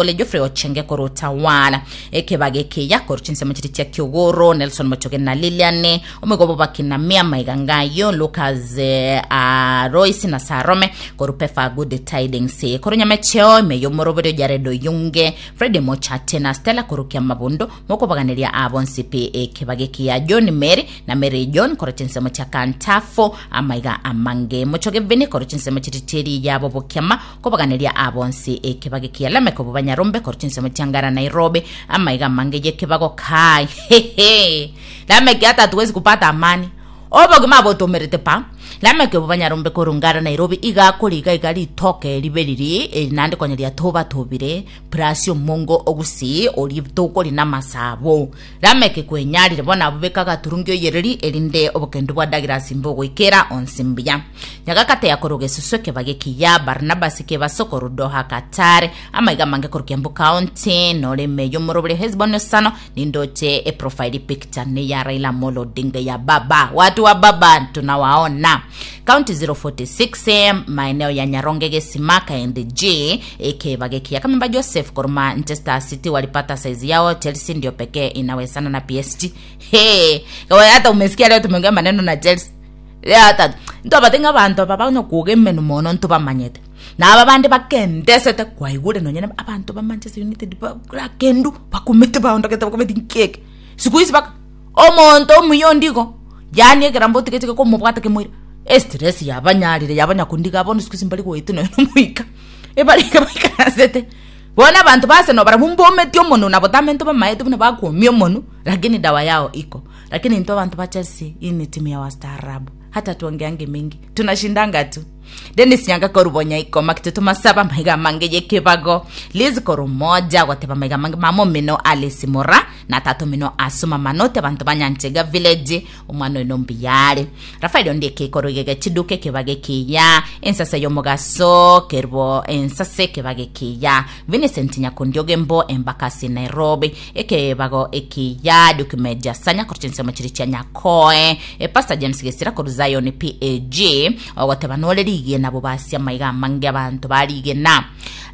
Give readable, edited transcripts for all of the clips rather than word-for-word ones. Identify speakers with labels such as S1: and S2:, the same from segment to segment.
S1: Ole Geoffrey Ochenge korwa Utawala, ekebago ekiya korwa chinsemo chiria chia Kiogoro, Nelson Mochoge na Lilian, omoigo bw'abakina Mia Maiga Ngayo, Lucas eh, ah, Royce na Sarome korwa Pefa Good Tidings, korwa Nyamecheo ime y'omoroberio Jared Oyunge, Freddy Mochate na Stella korwa Kiamabondo, mokobaganeria abo nsi pi ekebago ekiya John Mary na Mary John korwa chinsemo chia Kantafo, amaiga amange Mochoge Vinny korwa chinsemo chiria chi'eriya yabo Bokiama, Kobaganeria aa bonsi ekebago ekiya Lameki obo banyarombe korwa chinsemo chia Ngara Nairobi amaiga amange y'ekebago kai hehe Lameki hata hatuwezi kupata amani obogima abotomerete pa Lameki obo banyarombe korwa Ngara Nairobi iga akoriga iga ritoke ribe riri eri naende konya riatobatobire plus omongo ogusii oria tokori namasabo Lameki kwenyarire bono abwo beka agaturungi oyereri erinde obokendu bwa Douglas mbogoikera onsi mbuya. Nyagakate ya korwa gesusu ekebage ekiya, Barnabas kebaso korwa Doha Qatar, amaiga amange korwa Kiambu County, nore ime y'omorobori Hesbon Osano, nindoche eprofile picture ne ya Raila Amolo Odinga ya baba. Watu wa baba tunawaona. County 046 maeneo ya Nyaronge Gesima Kaende G ekebage ekiya Kamemba Joseph korwa Manchester City walipata size yao Chelsea ndio pekee inawezana na PSG. Hey, hata umesikia leo tumeongea maneno na Chelsea. Yata, ntobate ng'a abanto aba banya kwoga emenwa mono ntobamanyete. Na aba bande bakendesete kwaigure nonye na abanto ba Manchester United ba rakendu bakumete baondogete bakometi nki eke. Siku hizi baka omonto omuya onde igo, yaani ekero mbotige chike komobwata kemoira, estress yabanyarire yabanya kondiga bono siku hizi mbari goetwa nonye na omoika, ebarenge baikaransete. Bono abanto ba Arsenal barabwo mbometie omonwe na botambe ntobamaete buna bakwomia omonwe, lakini dawa yao iko. Lakini intwe abanto ba Chelsea, hii ni timu ya wastaarabu, hata tuongeange mingi, tunashindanga tu. Dennis Nyanga korwa Bonyaiko, Makitutu Masaba, maiga amange y'ekebago, Liz korwa Moja, goteba maiga amange, mama omino Alice Mora, na tata omino Asuma Manoti, abanto ba Nyanchega Village, omwana oino mbuyare. Rafael Ondieki korwa Igege Chiduka ekebago ekiya, ensase y'omogaso, Kerubo ensase ekebago ekiya, Vincent Nyakundi Ogembo, Embakasi Nairobi, Ekebago ekiya Duke Major Sanya korwa chinsemo chiria chia Nyakoe, e Pastor James Gesira korwa Zion PAG ogoteba nore rigena bobasia amaiga amange abanto barigena.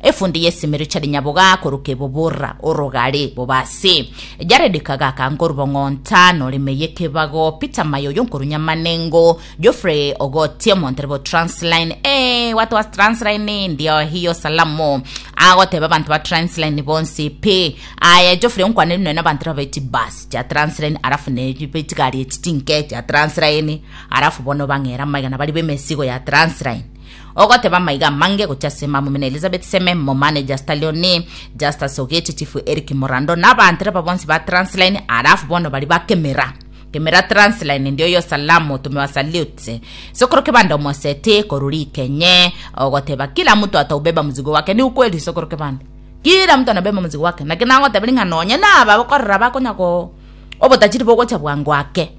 S1: Efundi y'esimi Richard Nyaboga korwa Kebobora Orogare bobasi. Jared Kagaka nkorwa Bong'onta nore meye ekebago Peter Mayoyo nkorwa Nyamanengo Geoffrey Ogotie omontereba o Transline eh, watu wa Transline ndio hiyo salamu agoteba abanto ba Transline bonsi pi aye Geoffrey onkwaneri nonya na abanto ba chibus chia Transline alafu ne be chigari echi chinke chia Transline alafu bono bang'era amaiga na bari b'emesigo ya Transline ogoteba amaiga amange gochia ase mama omino Elizabeth Seme mo manager Stallion Justus Ogechi Chief Eric Morando na abantereba bonsi ba Transline alafu bono bari bakemera Kemera Transline ndio yo salamu tumewasalute. Sokoro kebanda omoseti korwa rikenye ogoteba kila mtu ataubeba mzigo wake ni ukweli sokoro kebanda. Kila mtu anabeba mzigo wake naki nagotebiri ng'a nonye naba bakorora bakonya ko obotachiri bogocha bwango ake.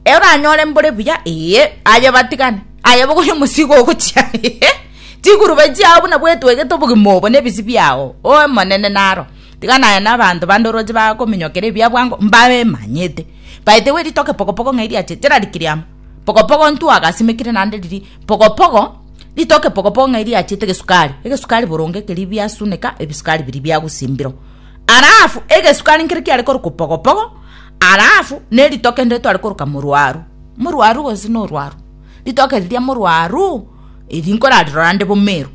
S1: Oranyore mbore buya ee aye batigane aye bogoria omosigo ogochia chigurube chiao buna bwetwegete obogima obo na ebisi biao omonene naro. Tiga naye na abanto bande oroche bakominyokera ebiya bwango mbabemanyete. By the way ritoke pokopoko ng'ai riachete rarikiri amo. Pokopoko ntwagasimekire naende riria pokopoko ritoke pokopoko ng'ai riachete egesukari, egesukari boronge keria biasuneka ebisukari biria biagusimbirwa. Alafu egesukari nkere kiare korokwa pokopoko alafu na eritoke ndire tware koroka morwaru, morwaru gose na orwaru, ritoke riria morwaru eri nkorarirora nde bomeru.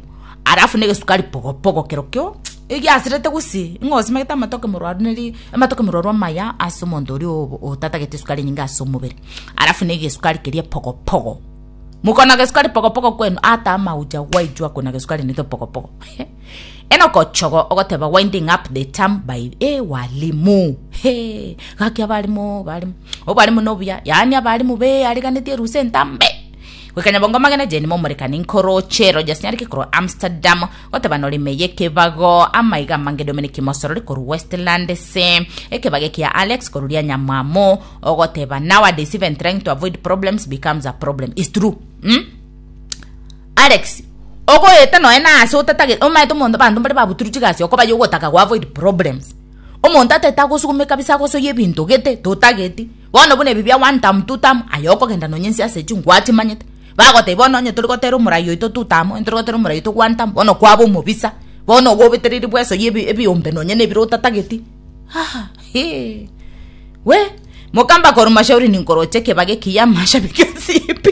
S1: Alafu na egesukari pokopoko kerokio egiasirete gusii ng'a osimegete amatoke morwaru neri amatoke morwaru amaya ase omonto oria o- otatagete esukari enyinge ase omobere. Alafu na egesukari keria pokopoko, mokona gesukari pokopoko kwenu ata amaucha gwaijwa kona gesukari nito pokopoko Enock Ochogo ogoteba winding up the term by eh walimu hee gaki abalimu balimu obwalimu nobuya yaani abalimu beariganetie erusa entambe. Goika nyabongo amagena Jane momorekani nkoroche Rogers Nyariki korwa Amsterdam goteba norime y'ekebago amaiga amange Dominic Mosorori korwa Westland se ekebago ekia Alex korwa Rianyamwamu ogoteba nowadays even trying to avoid problems becomes a problem is true mm? Alex ogoeta noe na ase otatagete omaete omonto abanto mbare babuturwe chigasi okoba yogotaka go avoid problems omonto atete agosugume kabisa agosoyie ebinto gete totageti Bono buna ebi bia one term, two term, aye okogenda nonya ense ase echio ngwachimanyete. Bagotebia bono onye tori gotera omorai oito two term, onye tori gotera omorai oito one term, bono kwaba omobisa. Bono ogobetereri bwesoyie ebi ebiombe nonye na ebire otatageti. Ah hee we mokamba korwa mashauri ninkoroche ekebago ekiya amashabiki onsi pi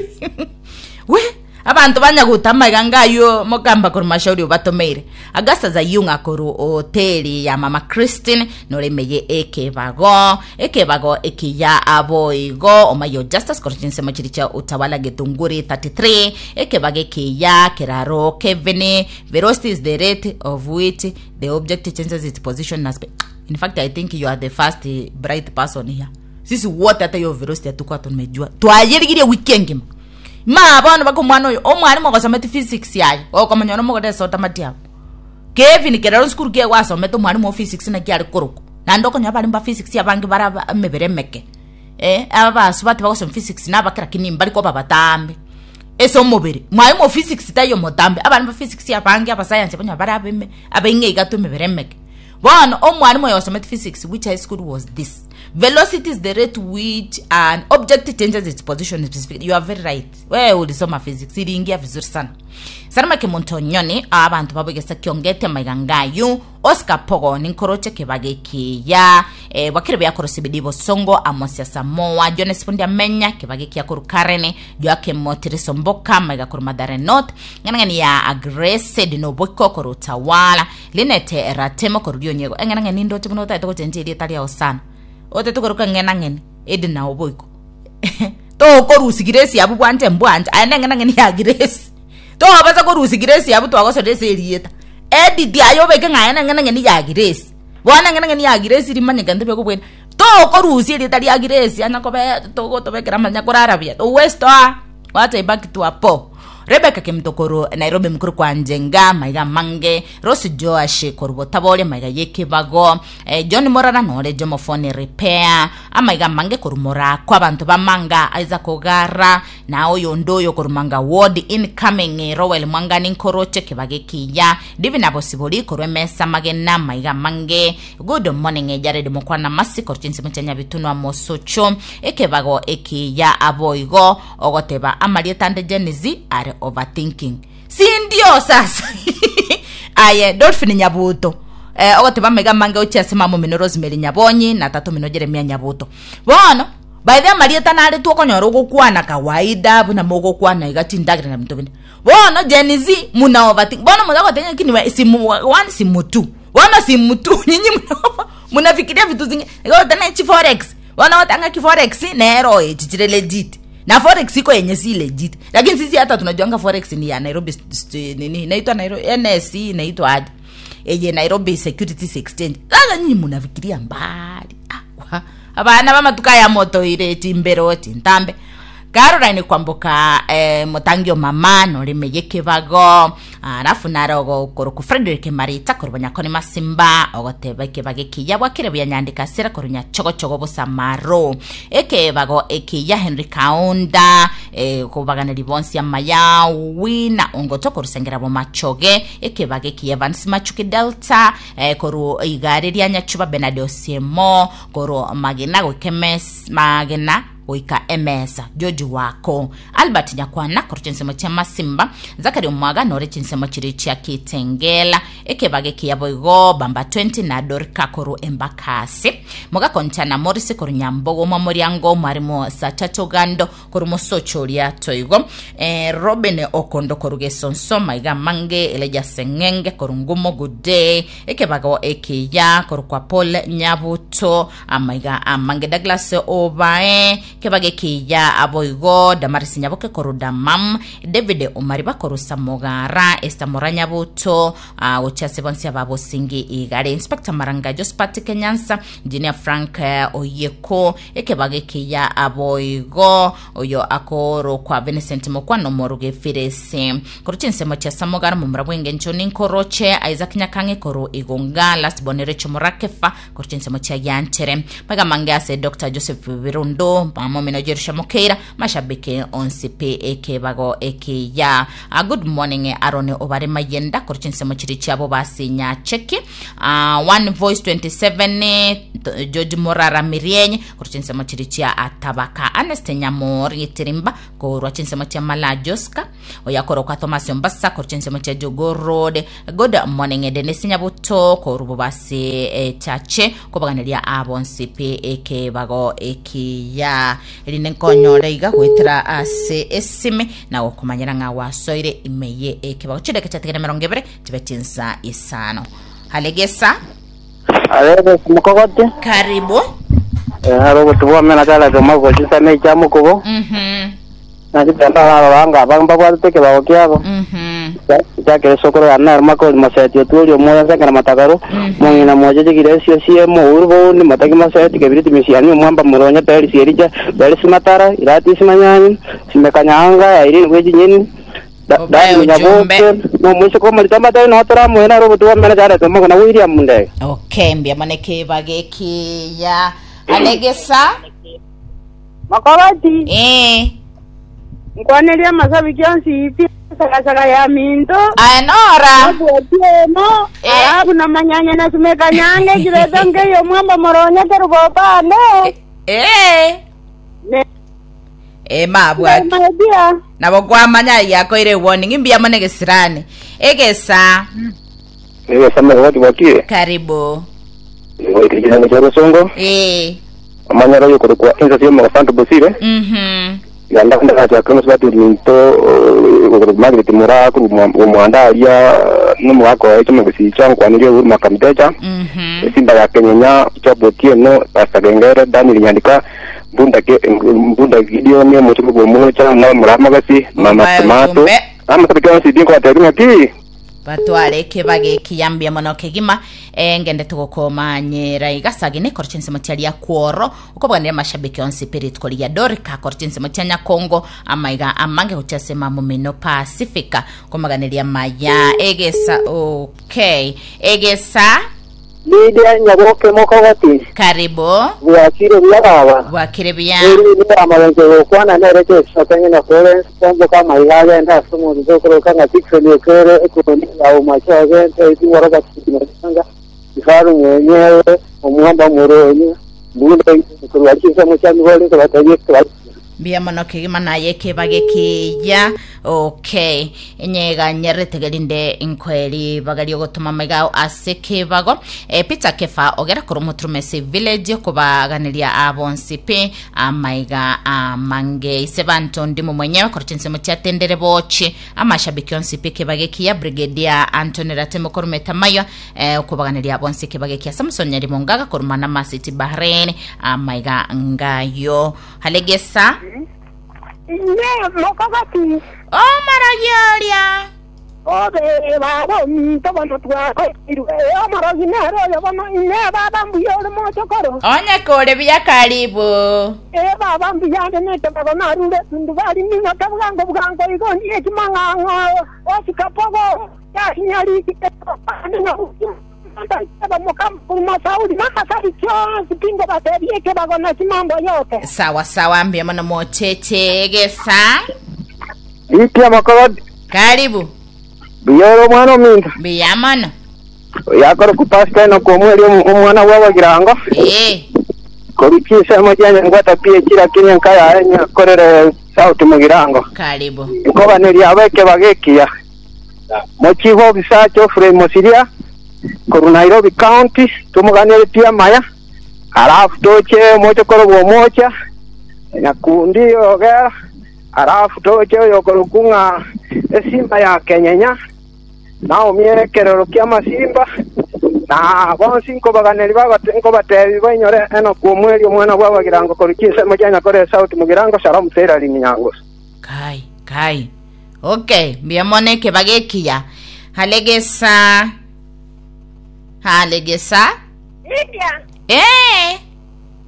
S1: we abanto banya gotama iga ngaywo mokamba korwa mashauri obatomeire. Augustus Ayung'a korwa hoteli ya mama Christine noremeye ekebago ekebago ekiya aboigo omayo Justus korwa chinsemo chiria chia Utawala Githunguri 33 ekebago ekiya keraro Kevin Velocity is the rate of which the object changes its position na speed. In fact, I think you are the first bright person here. Sisi wote hata hiyo velocity hatukuwa tumejua. Twayerigirie wiki engima. Ma bono baka omwana oyo omwalimu ogosometi physics yaye okomanya ono mogore esota matiabo. Kevin kerero sukuru kiaye gwasomete omwalimu o physics naki are korokwa. Naende okonyora abalimu ba physics abange bare aba emebere emeke. Eh, aba basubati bagosoma physics nabake lakini mbari koba batambe. Ase omobere, mwalimu o physics taiyo motambe, abana ba physics abange abasayansi abanywa bare abeme abaing'e iga emebere emeke. Bono omwalimu oyo osomete physics which high school was this? Velocity is the rate which an object changes its position in specific. You are very right. Wewe ulisoma physics iliingia vizuri sana. Salama Kemunto Nyoni abantu babwegesa kiongete maiga ngayu Oscar Pogo ninkoroche kebaga ekiya eh, bwakire buya CBD Bosongo Amosia Samoa Jones Fundi Amenya kebaga ekiya koru Karen Joakim Motiriso Mboka maiga koru Mathare North ng'anang'ani ya Grace Dinoboiko koru Utawala Linete Ratemo koru Rionyego eng'anang'ani ndoche buna otagete gochencha erieta riao sana otete koruka ng'enang'eni Edna Oboiko tokorusia Grace abwo bwanche mbwanche aye neng'enang'eni ya Grace tobasa korusia Grace abwo twagosera ase erieta Edit aye obeke ng'a aye neng'enang'eni ya Grace bono eng'enang'eni ya Grace rimanyekane tebekobwena tokorusia erieta ria Grace anya kobe togotobekera amanya korara buya huwezi toa wacha ibaki tu hapo. Rebecca Kemunto korwa Nairobi mokoro kwa Njenga maiga amange Rose Joash korwa Botaboria maiga y'ekebago eh, John Morara nore Jomo Phone Repair amaiga amange korwa Morako abanto bamanga Isaac Ogara na oyonde oyo korwa Manga Ward incoming Rowel Mwangani nkoroche kebago ekiya Divina Bosibori korwa emesa magena maiga amange Good morning Jared Mokwana Masi korwa chinsemo chia Nyabitunwa Mosocho ekebago ekiya aboigo ogoteba amarieta ande Gen Z are overthinking sindio sasa aye Dolphin Nyabuto eh, ogoteba amaiga amange gochia ase mama omino Rosemary Nyabonyi na tata omino Jeremia Nyabuto bono by the amarieta naretwe okonyora ogokwana kawaida buna mogokwana iga chindagera na binto binde bono Gen Z muna overthink bono moza goteba ng'a kini simu one simu two bono simu two nyinyi muna munafikiria vitu zingine igo goteba chi forex Bono ogoteba ng'a ki forex nero echi chire legit na forex iko yenye si legit lakini sisi hata tunajuanga forex ni ya Nairobi nini inaitwa Nairobi NSE inaitwa aje eye Nairobi Securities Exchange sasa nyinyi munafikiria mbali ah, wa. Abana b'amatuko aya motoire chimbero chintambe Caroline kwamboka eh, motangi o mama norime yekebago alafu naro ogokorokwa Frederick Marita korwa Bonyakoni Masimba ogoteba ekebago ekiya bwakire buya nyandika asera korwa Nyachogochogo Bosamaro ekebago ekiya Henry Kaunda eh, kobaganeri bonsi amaya Wina Ongoto korwa Sengera Bomachoge ekebago ekiya Evans Machuki Delta eh, korwa igare ria Nyachuba Bernard Osiemo korwa Magena goika emes Magena goika emesa George Wako Albert Nyakwana korwa chinsemo chia Masimba Zachary Omwaga nore chinsemo chiria chia Kitengela ekebago ekiya boigo Bamba 20 na Dorika korwa Embakasi Mogakonchana Morris korwa Nyambogo Mwamoriango Mwarimu Sachacha Ogando korwa Mosocho oria Toigo eh, Robin Okondo korwa Gesonso Maiga Amange Elijah Seng'enge korwa Ngumo Good day ekebago ekiya korwa kwa Paul Nyabuto Amaiga amange Douglas Obae kebago ekiya aboigo Damaris Nyaboke korwa Damam David Omariba korwa Samogara Esther Mora Nyabuto ah, gochia ase bonsi ababosingi igare Inspector Maranga Josephat Kenyansa Engineer Frank eh, Oyeko ekebago ekiya aboigo oyo akorokwa Vincent Mokwano Moruge Firesi korwa chinsemo chia Samogara momura bw'engencho ninkoroche Isaac Nyakang'e korwa Igonga Last Born Rachel Morakefa korwa chinsemo chia Gianchere maiga mange ase Dr. Joseph Birundo. Mama omino Jerusha Mokeira mashabiki onsi pi ekebago ekiya. Good morning Aaron obare mayenda korwa chinsemo chiri chiabo basi Nyacheki. One Voice 27 George Morara Mirienye korwa chinsemo chiri chia Atabaka. Ernest Nyamori Gitirimba korwa chinsemo chia Mala Joska. Oyakorokwa Thomas Ombasa korwa chinsemo chia Jogoo Road. Good morning Dennis Nyabuto korwa Bobasi Chache kobaganeria abonsi pi ekebago ekiya. Erinde nkonyore iga goetera ase esime na gokomanyera ng'a gwasoire ime ye ekebago. Chidakika chiatigere 20 chibe chinsa isano. Halegesa.
S2: Arebe mukogoti.
S1: Karibu.
S2: Haro obotu bwame na kala koma gochisa ne cha mukubo. Na chitenda baranga bamba bwatete ekebago kiabo. Chakere sokoro ya naro makori maseti oturi omoya nsengera matakaro. Mong'ina moche chigire esio siemo uru boundi mataki maseti kebiriti misiani omwamba muronya peri siericha peri simatara irati simanyanyi simekanyanga irene bwechinyeni.
S1: Obae ujumbe.
S2: No mwisho ko marita matari no tora mwena ro butu mena jara to magona William Munde.
S1: Okay, mbia maneke bagekiya. Alegesa.
S3: Makobati. Nkwaneria amasabiki onsi pi sagasaga ya minto.
S1: Anora.
S3: Abwatiemo. Alafu na manyanya na sumeka nyange kireto ngeyo mwamba moronya kerubopane. Ne.
S1: Mabwaki.
S3: Mabia.
S1: Nabo kwamanya yakoire warning imbia mane gesirani. Egesa.
S2: Ewe sama watu wakie.
S1: Karibu.
S2: Ngo ikijana cha Rusongo. Amanya yo kurukwa enza sio mwafantu bosire. Yanda ndaka cha kronos batu minto Margaret Mura ku muandaria no mwako echo mugusicha nkwanirie uru makamtecha. Simba ya Kenyenya chabotie no Pastor Gengere Daniel Nyandika Mbunda ke Mbunda Gideon mutuko bwo cha na muramagasi mama
S1: Obae
S2: tomato.
S1: ujumbe.
S2: Ama sabika si dinko aterunya ki.
S1: Batware kebage kiyambia mono kegima ngende tugokomanyera igasagi korwa chinsemo chiaria kworo okobwanire mashabiki onsi pirit koria Dorika korwa chinsemo chia Nyakongo amaiga amange gochiasema mumino Pacifica komaganiria maya egesa. Okay, egesa.
S2: Lidia Nyaboke mokogoti.
S1: Karibu.
S2: Bwakire bwaba.
S1: Bwakire bya.
S2: Eri ni amabenze gokwana nereke sokanye na Florence pombo kama ilaga enda somo ndokoro kanga tikse ni kere ekoni au macho gente iti waraga kinanga ifaru mwenyewe omuhamba muronyi mbunda kurwakisa muchami bole kubataje kwa
S1: Mbia mono kegima naye kebage kiya. Okay, enyega nyeretegerinde inkweri bagario gotuma maigao ase kebago. Peter Kefa ogera kuru mutrumesi village kubaganiria abonsi pe amaiga amange isebanto ndimu mwenyewe korchinsemo chiatendere bochi amashabiki onsi pe kebage kiya. Brigadier Anthony Ratemo korumeta mayo kubaganiria abonsi kebage kiya. Samson Nyarimongaga korumana masiti Bahrain amaiga ngayo halegesa.
S3: Ne mokogoti.
S1: O maragioria.
S3: Obe babo minto bono twako iru. O marogi nero yo bono ne baba mbuyo le mochokoro.
S1: Onye kore bia karibu.
S3: Baba mbuya ne te baba narure tundu bali ni na kabgango bgango igo ni ekimanga osikapogo ya nyari na
S1: Sawa sawa mbia mono motete gesa.
S2: Lidia mokogoti.
S1: Karibu.
S2: Biyoro mwana minta.
S1: Mbia mono.
S2: Yakoro kupasta no komweli omwana wabagirango. Korikisa mojanya ngwata pie chira kinya kaya enya korere sauti mugirango.
S1: Karibu.
S2: Nkoba neri abeke bagekia. Mochiho bisacho Frame Mosiria koru Nairobi County tumuganire pia maya. Alafu toche mocho koro mocha. Nyakundi ogera. Alafu toche yokoro kunga esimba ya Kenyenya. Nao miekerero kia masimba. Na bonsi nkobaganeri babate nkobatebi bainyore eno kumweli omwana bwabagirango korikisa mojanya kore sauti mugirango shalom tera liminyango.
S1: Kai kai. Okay, mbia mone kebagekia. Halegesa. Halegesa.
S3: Lidia.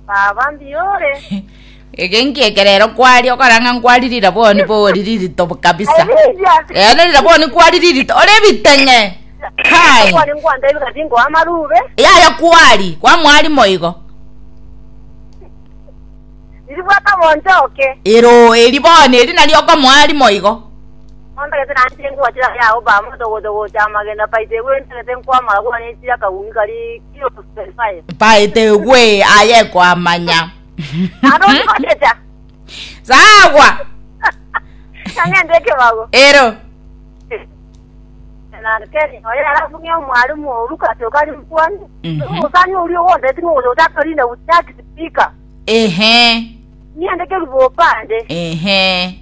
S3: Baba mbiore.
S1: Egenki ekerero kwari okoranga nkwaririra boni boririri kabisa.
S3: Lidia.
S1: Nerira boni kwaririri ore bitenge. Kai.
S3: Kwari ngwanda ibikatingo amarube.
S1: Yaya kwari kwa mwari moigo.
S3: Ribwata bonchoke.
S1: Ero eri bono eri nari okomoa rimo igo.
S3: Ontagete nanchire nkwachira ya Obama togotogocha amagena paite gwe ntagete nkwamara gwane chira kagumi kari kilo 25.
S1: Paete gwe aye kwamanya.
S3: Aro ndikochecha.
S1: Sawa.
S3: Nang'ende ekebago.
S1: Ero.
S3: Na Kenya oyo alafu ng'e omwalimu oruka tokali mkwani.
S1: Mhm.
S3: Usani uri wonde tingo utakarinda utaki speaker.
S1: Ehe.
S3: Niende kerubo pande.
S1: Ehe.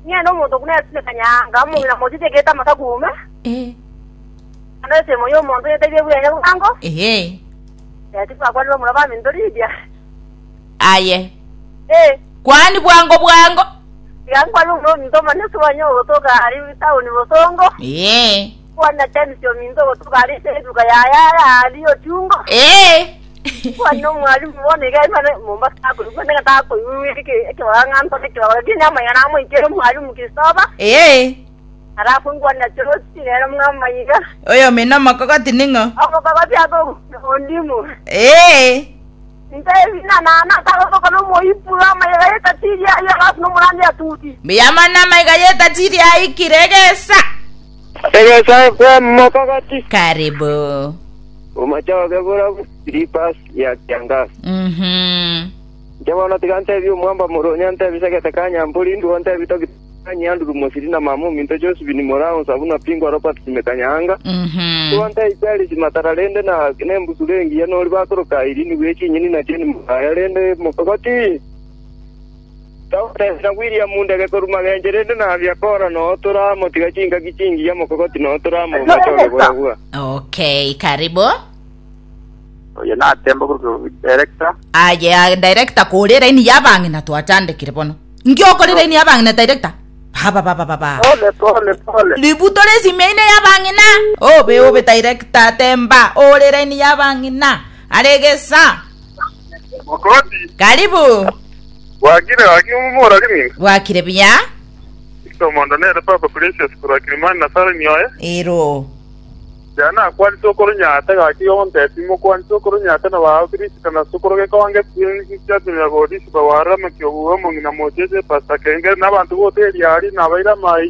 S3: Niende omuntu kunetune kanyanga mumina motitegeta makagume.
S1: Eh.
S3: Anese moyo omuntu yeteje bwenya bwango.
S1: Ehe.
S3: Tikwakwanira omuraba mintoridia.
S1: Aye.
S3: Eh.
S1: Kwani bwango bwango.
S3: Yankwani omuno minto manesi wanyo ogotoka ari town Bosongo.
S1: Eh.
S3: Kwana tension minto ogotoka ari seduka yaya ari ochungo.
S1: Eh.
S3: Kwana omwalimu bone gai mane Mombasa akuri kwene gatako ekibang'anto ekibanga kinyama yana moikere omwalimu Kristoba.
S1: Eh.
S3: Alafu ngwana chorosi rero mwamaiga.
S1: Oyo mina makokoti ning'o.
S3: Omokogoti ako ondimu.
S1: Eh.
S3: Nte na na taroko no moipura maiga yetatiria ya alafu no murandi atuti.
S1: Miyamana maiga yetatiria ikiregesa.
S2: Egesa FM mokogoti.
S1: Karibu.
S2: Umachoke bura slippers ya kiangazi. Njabona tiga ntebi omwamba muronya ntebi segete kanyamburi nduo ntebi tokitanya musiri na mamu minto Josephine Morao sabuna pingwa Robert simekanyanga. Tuo ntebi Charles matara rende na nembusu rengi ya nori bakoroka irini gwechinyini na cheni mukaya rende mokogoti. Tawatesera William Mundege koruma genje rende na biakora no turamo tiga chinga kichingi ya mokogoti no turamo machoke bura bura.
S1: Okay, karibu.
S4: Oyo natemba kuri director.
S1: Aye, director kurira ini yabang'ina twachandikire bono. Ngiokorira ini yabang'ina director. Baba baba baba.
S4: Pole pole pole.
S1: Libuto lesimeine yabang'ina. Obe obe director temba orira ini yabang'ina. Aregesa.
S5: Mokoti,
S1: Karibu.
S5: wakire wakire mumura rimwe.
S1: Wakire biya?
S5: Itomondo nere Papa Precious kurwa Kilimani na Sara nyoye.
S1: Ero.
S5: Jana kwani sokoro nyata gaki onte timo kwani sokoro nyata na wa Kristo na sokoro ke kwange tiya godisi ba wara makyo uwo mungina mojeje pasta kenge n'abantu bote yari nabaira mai.